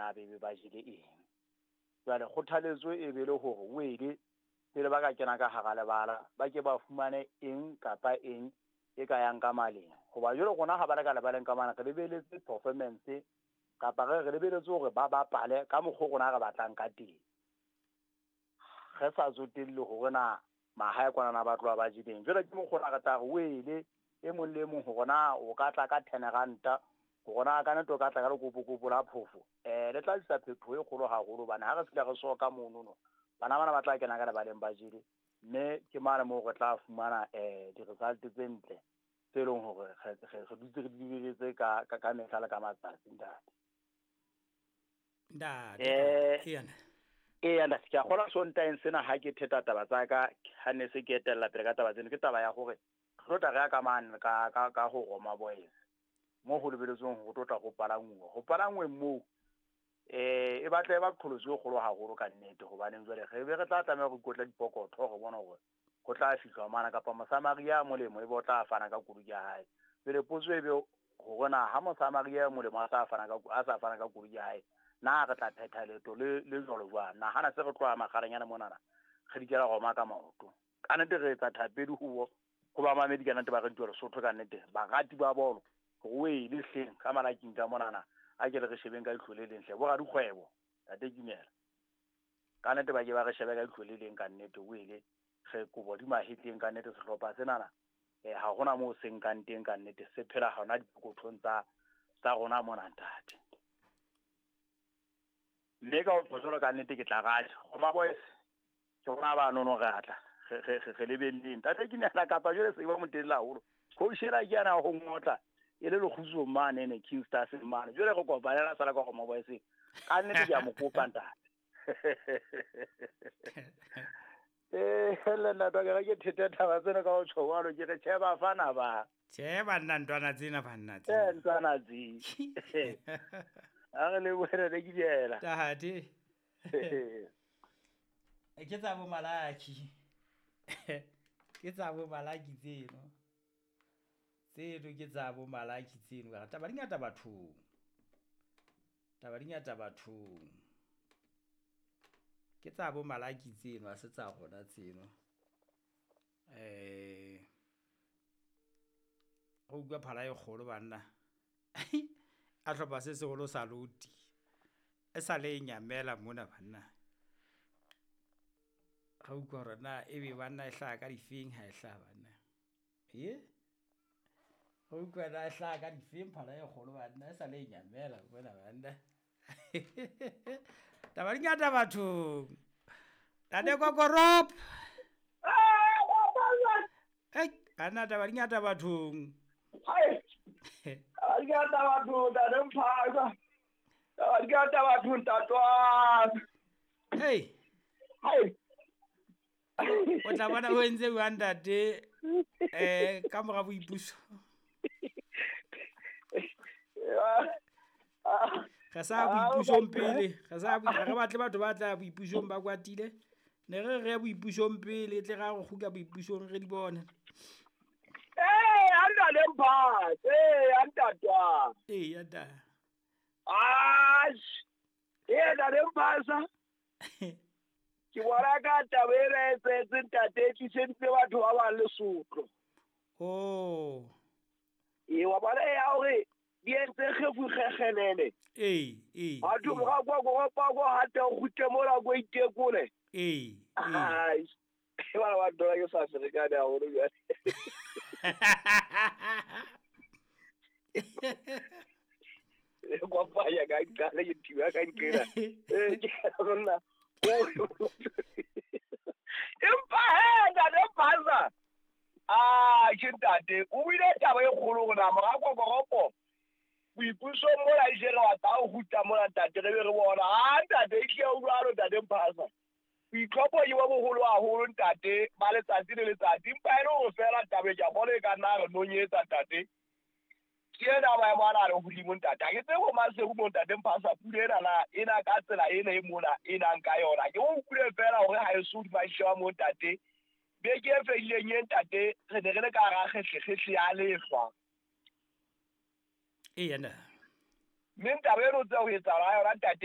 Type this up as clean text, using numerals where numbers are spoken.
na be ba jele eng. Jwale kgothaletso e be le hore wele pele ba ka kena ka hara lebala ba ke ba fumane eng kapa eng e ka yang ka maleng. Hoba jwale rona ha ba le ka lebaleng ka mane re lebeletse performance kapa re lebeletse hore ba bapale ka mokgwa rona re batlang ka teng. Re sa tsotelle hore na mahae kwana na ba tloha ba jeleng. Jwale ke mokgwa re tla re wele e mong le mong hore na o ka tla ka 10 ranta hore na ka nete o ka tla ka lekopokopo la phofo. Le tla tlisa phetoho e kgolo haholo hobane ha re fihla re soka monono bana bana ba tla kena ka lebaleng ba jele, mme ke mane moo re tla fumana di-result tse ntle tse leng hore re dutse re di lebeletse ka mehla le ka matsatsi ntate. Ntate. Eya ntate, ke a kgolwa Sontaeng sena ha ke theta taba tsa ka ha ne se ke etella pele ka taba tseno, ke taba ya hore re tlo tla re ya ka mane ka ho Roma Boys mo ho lebeletsweng ho tlo tla ho palangwa. Ho palangweng moo e batla e ba qholotso e kgolo haholo ka nnete, hobaneng jwale re be re tla tlameha ho ikotla dipokotho re bona hore ho tla fihlwa mana kapa Mosamaria ya molemo e be o tla fana ka koloi ya hae. Jwale potso e be hore na ha Mosamaria ya molemo a sa fana ka koloi ya hae, na re tla phetha leeto le jwalo jwang? Nahana se re tloha makgarenyana monana re dikela Roma ka maoto. Ka nnete re etsa thapedi ho bamamedi ka nnete ba radio Lesotho ka nnete barati ba bolo hore o ele hleng ka malaking ka monana a ke re shebeng ka leihlo le leng hle bo radikgwebo tate Kimela. Ka nnete ba ke ba re shebe ka leihlo le leng ka nnete o ele re kobo di mahetleng ka nnete sehlopha senana ha hona moo se nkang teng ka nnete se phela hona dipokothong tsa rona mona ntate. Mme ka ho jwalo ka nnete ke tla rata Roma Boys ke rona ba nono re atla re lebelleng ntate Kimela kapa jwale se ba motelele haholo. Coach ena ke yana ho ngotla e le lekgutso mane ne King Stars mane jwale re kopanela sala ka Roma Boys ka nnete ke a mo kopa ntate. Le nna ke ke thete taba tsena ka ho tjho jwalo ke re tjhe bafana ba. Tjhe banna ntwana tsena banna tsena. Ntwana tse. A re le boele le ke diela. Ntate. Ke tsa bo Malaki. Ke tsa bo Malaki tseno. Tseno ke tsa bo Malaki tseno. Taba di ngata bathong. Taba di ngata bathong. Ke tsa bo Malaki tseno, ha se tsa rona tseno. Go utlwa phala e kgolo banna. A hlopha se seholo sa loti. E sa le nyamela mona banna. Ga utlwa hore na ebe banna e hlaha ka difeng ha e hlaha banna. Ga utlwa na e hlaha ka difeng phala e kgolo banna e sa le nyamela mona banna. Taba di ngata bathong. Tate Kokorop. Banna taba di ngata bathong. Taba di ngata bathong tate Mphaka. Taba di ngata bathong tatwana. Hey. Hai. O tla bona o entse jwang ntate ka mora boipuso. Re sa boipusong pele, re sa re batle batho ba tla boipusong ba kwatile. Ne re re boipusong pele tle ra go kgutla boipusong re di bone. Ntate Mphaka, ntatwa. Ntate. Ntate Mphaka. Ke bona ka taba ena e etsahetseng ntate e tliseditse batho ba bang Lesotho. Oh. Wa bona ya hore di entse kgefu kgekgelele. Batho ba kwa kwa kwa hata o kgutle mola ko itekole. Ai. Bana ba dola ke sa ferekane haholo jwale. Le kopanya ka nqale ke thiba ka nqela. Ke rona. Empa he ntate Mphasa. Ke ntate o buile taba e kgolo rona mora Kokoropo. Boipusong mola e jele wa tla o kgutla mola ntate re be re bona. Ntate e tlile jwalo ntate Mphasa. Boitlhopho ke bo boholo haholo ntate ba letsatsi le letsatsi. Empa e le hore feela taba e ke a bona e ka nna re nonyetsa ntate. Ke ena maemo ana a le hodimo ntate. Ha ke tsebe ho Maseru mo ntate Mphasa pula ena na ena ka tsela ena e mona e nang ka yona. Ke o utlwile feela hore ha e so hodima sheba mo ntate. Beke e fedileng e ntate re ne re le ka hara kgehlehle ya lehlwa. Eya na. Mme taba eno tse ho etsahala yona ntate